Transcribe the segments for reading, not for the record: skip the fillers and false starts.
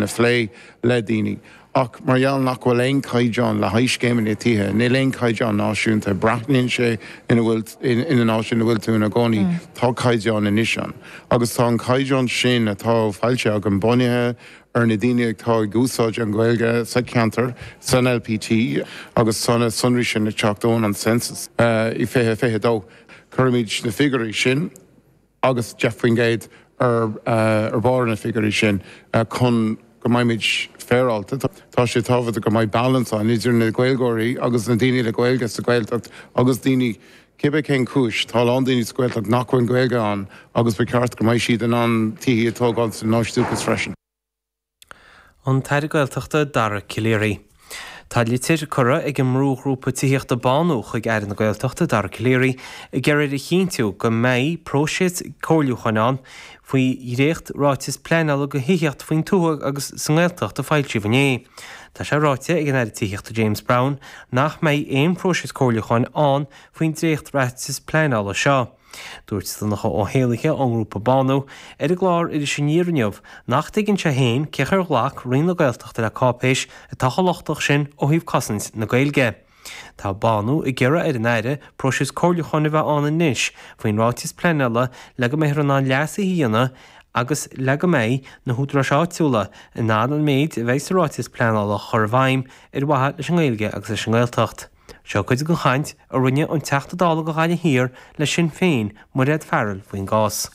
A phlé le daoine. Ach mar gheall nach bhfuil aon chaighdeán le haghaidh scéimeanna tithe, níl aon chaighdeán náisiúnta, breathnaíonn sé ina bhfuil, ina áit ina bhfuil tú ina gcónaí, tá caighdeán anois ann. Agus tá an caighdeán sin atá foilsithe againn bunaithe ar na daoine atá ag úsáid an Ghaeilge sa cheantar, san LPT, agus tá na sonraí sin ag teacht ón an census i 2022. Cuirimid na figiúirí sin. agus 10% ar bharr na figiúirí sin chun go mbeimid féaráilte. Tá sé tábhachtach go mbeidh balance ann idir na Gaeilgeoirí agus na daoine le Gaeilge sa Ghaeltacht agus daoine, cibé cén chúis, tá a lán daoine sa Ghaeltacht nach bhfuil Gaeilge ann agus ba cheart go mbeidh siad in ann tithí a tógáil sa áit dúchais freisin. An tAire Gaeltachta Dara Calleary. Tá litir curtha ag an mbrúghrúpa tithíochta Bánú chuig Aire na Gaeltachta Dara Calleary ag iarraidh air a chinntiú go mbeidh próiseas comhairliúcháin ann faoi dhréacht ráiteas pleanála do thithíocht faoin tuath agus sa nGaeltacht a foilsíodh inné. Tá sé ráite ag an Aire Tithíochta James Browne nach mbeidh aon phróiseas comhairliúcháin ann faoin dréacht ráiteas pleanála seo. Dúirt Donncha Ó hÉallaithe ón ngrúpa Bánú ar an gclár Iris Aniar inniu nach dtuigeann sé féin cén chaoi ar ghlac Roinn na Gaeltachta le cáipéis atá chomh lochtach sin ó thaobh cosaint na Gaeilge. Tá Bánú ag iarraidh ar an Aire próiseas comhairliúcháin a bheith ann anois faoin ráiteas pleanála le go mbeifear in ann leasuithe a dhéanamh agus le go mbeidh na húdaráis áitiúla in ann an méid a bheidh sa ráiteas pleanála a chur i bhfeidhm ar mhaithe leis an nGaeilge agus leis an nGaeltacht. Seo cuid den chaint a rinne an Teachta Dála do Ghaillimh Thiar le Sinn Féin, Mairéad Farrell faoin gcás.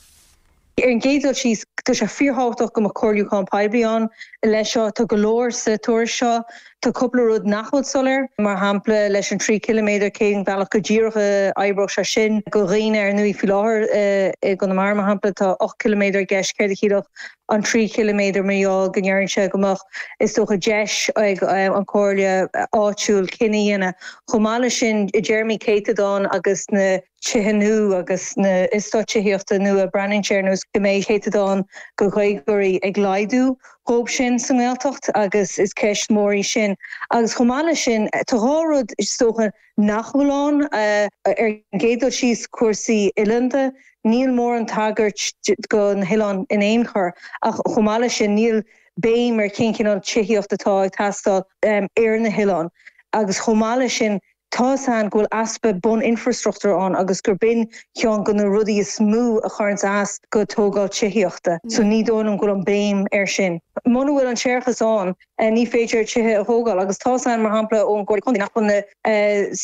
Ar an gcéad dul síos, tá sé fíorthábhachtach go mbeadh comhairliúchán poiblí ann leis seo. Tá go leor sa tuairisc seo. Tá cúpla rud nach bhfuil soiléir, mar shampla leis an 3 chiliméadar, cén bealach go díreach a oibreodh sé sin do dhaoine ar ndóigh faoi láthair i gConamara, mar shampla, tá 8 chiliméadar i gceist, céard a chiallódh an 3 chiliméadar mar gheall go ndeireann sé go mbeadh, is dócha, deis ag an chomhairle áitiúil cinneadh a dhéanamh. Chomh maith leis sin, i dtéarmaí céatadán agus na tithe nua agus na eastáit tithíochta nua, breathnaíonn sé ar nós go mbeidh céatadán de Ghaeilgeoirí ag laghdú dhóibh sin sa nGaeltacht agus is ceist mhór í sin. Agus chomh maith leis sin, tá dhá rud, is dócha, nach bhfuil ann. Ar an gcéad dul síos, cúrsaí oileánda, níl mórán tagairt do na hoileáin in aon chor ach chomh maith leis sin níl béim ar cén cineál tithíocht atá ag teastáil ar na hoileáin agus chomh maith leis sin tá 'fhios a'inn go bhfuil easpa bun-infreastruchtúr ann agus gur b'in ceann de na rudaí is mó a chuireanns as go tógáil tithíochta. So ní dóigh liom go bhfuil an béim air sin. Muna bhfuil an séarachas ann ní féidir tithe a thógáil agus tá 'fhios a'inn mar shampla ón gComhairle Contae nach bhfuil na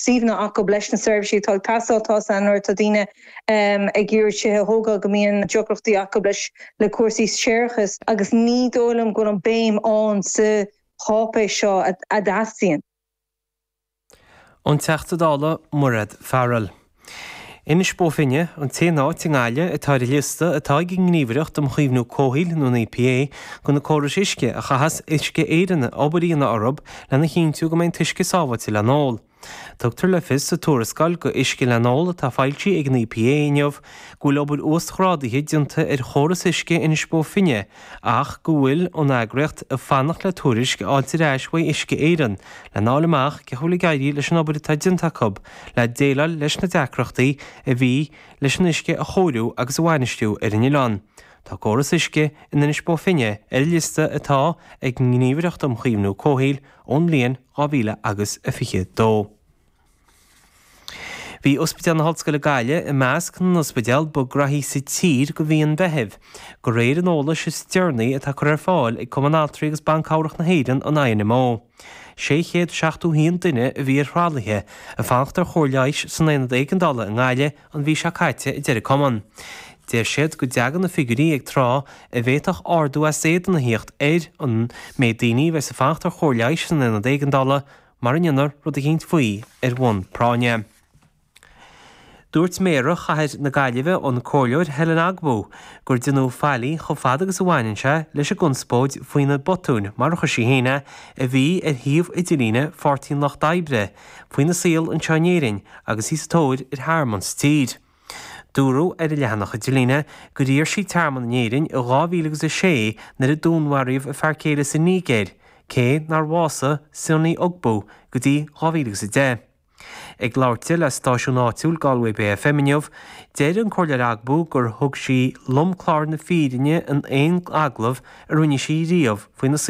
suíomhanna acu leis na seirbhísí atá ag teastáil. Tá 'fhios a'inn nuair atá daoine ag iarraidh tithe a thógáil go mbíonn deacrachtaí acu leis le cúrsaí séarachais agus ní dóigh liom go bhfuil an béim ann sa cháipéis seo a dteastaíonn. An Teachta Dála Mairéad Farrell. Inis Bó Finne, an t-aon áit i nGaillimh atá ar an liosta atá ag an nGníomhaireacht um Chaomhnú Comhshaoil nó an EPA de na córais uisce a chaithfeas Uisce Éireann obair a dhéanamh orthu lena chinntiú go mbeidh an t-uisce sábháilte le n-ól. Tugtar le fios sa tuarascáil go Uisce le n-ól atá foilsithe ag an EPA inniu go bhfuil obair uasghrádaithe déanta ar chóras uisce Inis Bó Finne ach go bhfuil an eagraíocht ag fanacht le tuairisc a fháilt ar ais uaidh Uisce Éireann lena fháil amach cén chaoi a bhfuil ag éirí leis an obair atá déanta acu le déileáil leis na deacrachtaí a bhí leis an uisce a chóiriú agus a bhainistiú ar an oileán. Tá córas uisce in Inis Bó Finne ar an liosta atá ag an nGníomhaireacht um Chaomhnú Comhshaoil ón mbliain 2000 agus a 22. Bhí Ospidéal na hOllscoile Gaillimh i measc na n-ospidéal ba ghraithí sa tír do mhí an Mheithimh, de réir an eolais is deireanaí atá curtha ar fáil ag Cumann Altraí agus Ban Cabhrach na hÉireann, an INMO. 671 duine a bhí ar thralaithe ag fanacht ar chóir leighis san aonad éigeandála i nGaillimh an mhí seo caite, a deir an Cumann. Deir siad go dtagann na figiúirí ag tráth a bhféadfadh ardú as éadan a thíocht ar an méid daoine a bheas ag fanacht ar chóir leighis san aonad éigeandála mara ndéanfar rud eicínt faoi ar bhonn práinne. Dúirt Méara Chathair na Gaillimhe, an Comhairleoir Helen Ogbu, gur déanadh faillí chomh fada agus a bhaineann sé leis an gconspóid faoi na botúin, mar a chuir sí féin é, a bhí ar shuíomh idirlíne Pháirtí an Lucht Oibre faoina saol anseo in Éirinn agus í sa tóir ar thearmann sa tír. Dúradh ar an leathanach idirlíne gur iarr sí tearmann in Éirinn i 2006 nuair a dúnmharaíodh a fear céile sa Nigéir, cé nár bhásaigh Sunny Ugbu go dtí 2010. Ag labhairt di le stáisiún áitiúil Galway Bay FM inniu, deir an Comhairleoir Ogbu gur thug sí lomchlár na fírinne in aon agallamh a rinne sí riamh faoina saol.